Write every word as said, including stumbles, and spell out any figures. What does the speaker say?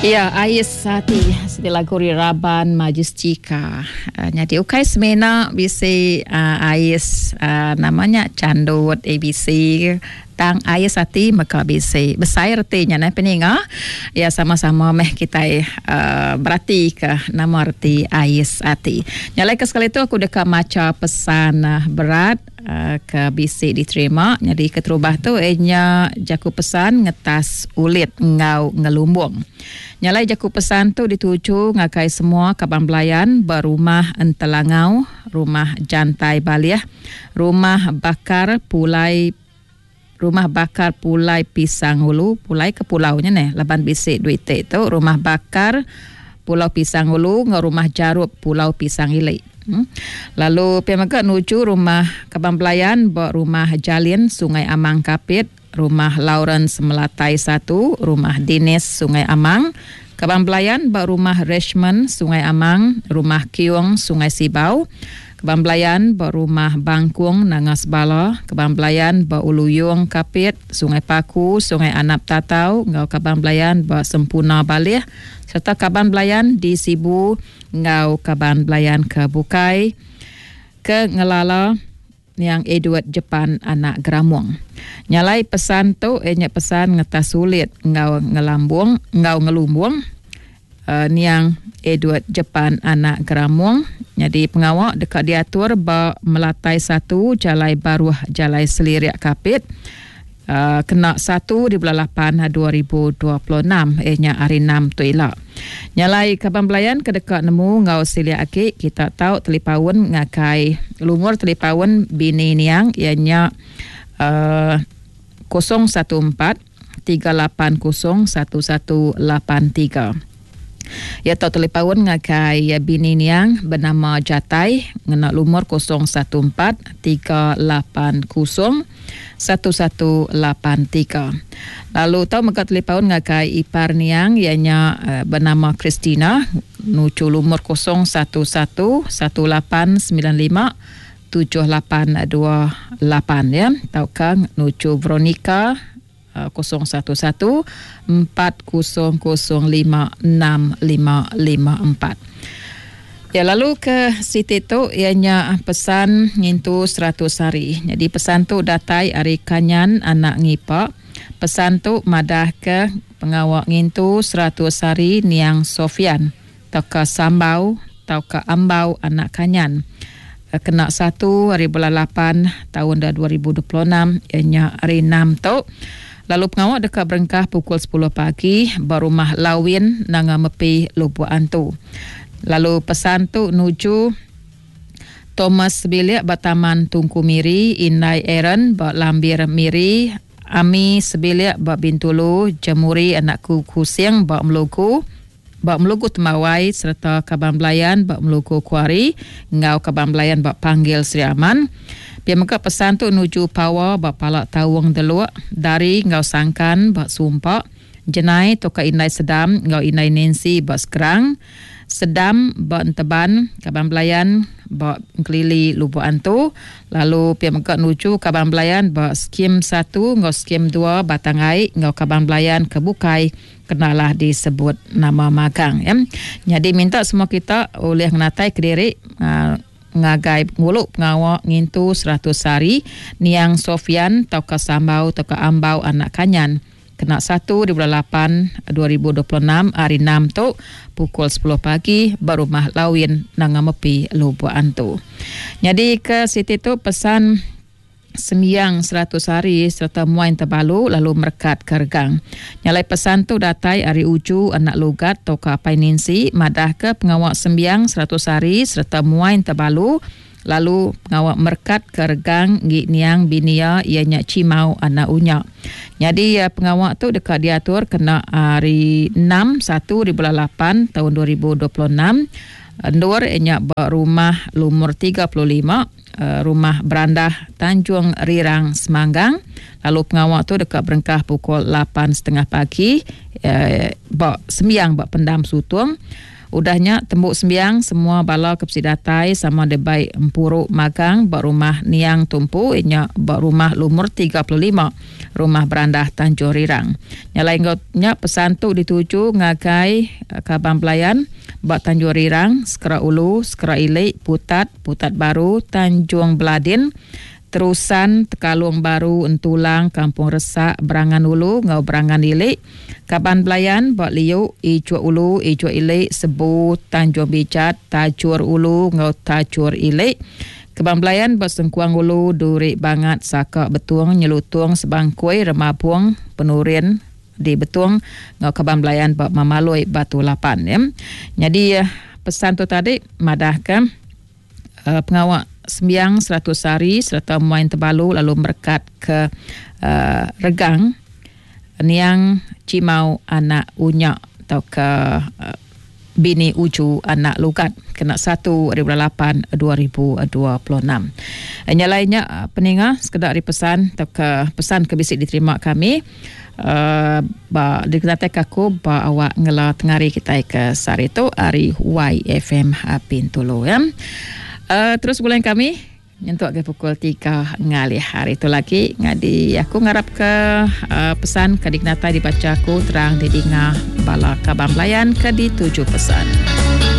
Iya, Ais Ati siti lagu ri raban Majestica. Uh, nyadi ukai semina bisi uh, ais uh, namanya candut A B C tang ais ati mega bisi. Besai reti nya neh peninga. Ya sama-sama meh kitai uh, berati ke nama reti ais ati. Nyalai ke sekali tu aku deka macha pesan uh, berat uh, ke bisi diterima. Jadi keterubah tu ianya jaku pesan ngetas ulit ngau ngelumbung. Nyalai jaku pesan tu dituju ngagai semua kaban belayan berumah Entelangau, rumah Jantai Balih, rumah Bakar Pulai, rumah Bakar Pulai Pisang Hulu, Pulai ke pulaunya neh, laban bisi duit tu, rumah Bakar Pulau Pisang Hulu ngau rumah Jarup Pulau Pisang Ili. Hmm. Lalu pia mega nuju rumah kaban belayan ba rumah Jalin Sungai Amang Kapit, rumah Lawrence Melatai satu, rumah Dinis Sungai Amang, kaban belayan ba rumah Richmond Sungai Amang, rumah Kiung Sungai Sibau, kaban belayan ba rumah Bangkung Nanga Sebala, kaban belayan ba Uluyung Kapit, Sungai Paku, Sungai Anap Tatau, ngau kaban belayan ba Sempuna Balih, serta kaban belayan di Sibu ngau kaban belayan ke Bukai ke ngelala yang Edward Jepan anak Geramung. Nyalai pesan tu ianya pesan ngetas sulit ngau ngelambung ngau ngelumbung uh, niang Edward Jepan anak Geramung. Jadi pengawak dekat diatur ba Melatai satu Jalai Baruh Jalai Seliriak Kapit. Uh, kena satu di bulan lapan dua ribu dua puluh enam ianya hari enam tu ila. Nyalai kaban belayan ke dekat nemu ngau silia aki kita tahu telipaun ngakai lumur telipaun bini niang ianya uh, kosong satu empat tiga lapan kosong satu satu lapan tiga. Ya tau telipaun ngakai bini niang bernama Jatai ngena lumur kosong satu empat tiga lapan kosong satu satu lapan tiga. Lalu tau mega telipaun ngakai ipar niang ianya uh, bernama Christina nuju lumur kosong satu satu satu lapan sembilan lima tujuh lapan dua lapan ya. Tauka nuju Veronica kosong satu satu empat kosong kosong lima enam lima lima empat. Ya lalu ke siti tu ianya pesan ngintu seratus hari. Jadi pesan tu datai ari Kanyan anak Ngipa. Pesan tu madah ke pengawak ngintu seratus hari niang Sofian tauka Sambau tauka Ambau anak Kanyan. Kena satu hari bulan lapan tahun dua ribu dua puluh enam ianya hari enam tu. Lalu pengawak dekat berengkah pukul sepuluh pagi berumah Lawin Nanga Mepi Lubuk Antu. Lalu pesan tu nuju Thomas Sebilik ba Taman Tungku Miri, Indai Aaron ba Lambir Miri, Ami Sebilik ba Bintulu, Jemuri anakku Kusing ba Melugu, ba Melugu Tembawai serta kaban belayan ba Melugu Kuari ngau kaban belayan ba Panggil Sri Aman. Pia mega pesan tu nuju Pawa ba Palak Tawung Deluk, Dari ngau Sangkan ba Sumpak, Jenai toka Indai Sedam ngau Indai Nancy ba Sekerang, Sedam ba Enteban, kaban belayan ba Kelili Lubuk Antu. Lalu pia mega nuju kaban belayan ba Skim satu ngau Skim dua Batang Ai ngau kaban belayan ke Bukai kenalah disebut nama magang ya. Jadi minta semua kita oleh ngenatai kediri uh, ngagai nguluk pengawak ngintu seratus hari niang Sofian tauka Sambau tauka Ambau anak Kanyan kena satu di bulan lapan dua ribu dua puluh enam hari enam tu pukul sepuluh pagi berumah Lawin Nanga Mepi Lubuk Antu. Jadi ke siti tu pesan sembiang seratus hari serta muain terbalu lalu merekat ke regang. Nyalai pesan tu datai ari uju anak lugat tauka apai Nancy madah ke pengawak sembiang seratus hari serta muain terbalu lalu pengawak merekat ke regang gi niang binia ianya Cimau anak Unya. Jadi pengawak tu dekat diatur kena hari enam satu di bulan lapan tahun dua ribu dua puluh enam. Endur ianya ba rumah lumur tiga puluh lima, rumah Berandah Tanjung Rirang Semanggang. Lalu pengawak tu dekat berengkah pukul lapan setengah pagi, eh, ba sembiang ba Pendam Sutung. Udah nya tembu sembiang semua bala ke bisi datai sama dibai empuru magang ba rumah niang tu empu iya nya ba rumah lumur tiga puluh lima Rumah Berandah Tanjung Rirang. Nya alai enggau nya pesan tu dituju ngagai kaban belayan ba Tanjung Rirang, Sekera Ulu, Sekera Ili, Putat, Putat Baru, Tanjung Beladin, Terusan, Tekalung Baru, Entulang, Kampung Resak, Berangan Ulu enggau Berangan Ili, kaban belayan ba Liu, Ijuk Ulu, Ijuk Ili, Sebu, Tanjung Bijat, Tajur Ulu enggau Tajur Ili, kaban belayan ba Sengkuang Ulu, Duri Bangat, Saka Betung, Nyelutung, Sebangkui, Remabung, Penurin di Betung enggau kaban belayan ba Mamaloi Batu Lapan ya. Nyadi pesan tu tadi madahka uh, pengawa sembiang seratus hari sereta muai tebalu lalu merekat ke uh, regang niang Cimau anak Unyak atau ke uh, bini Uju anak Lugat kena satu hari bulan lapan dua ribu dua puluh enam. Nya lainnya peninga sekedar dari pesan atau ke pesan ke bisi diterima kami uh, ba dikenatai aku ba awak ngela tengari kita ke sehari tu hari Y F M Bintulu ya. Uh, terus bulan kami nyentuk ke pukul tiga ngalih hari itu lagi ngadi aku ngarap ke uh, pesan ke dikenatai dibaca aku terang didinga bala kaban belayan ke dituju pesan.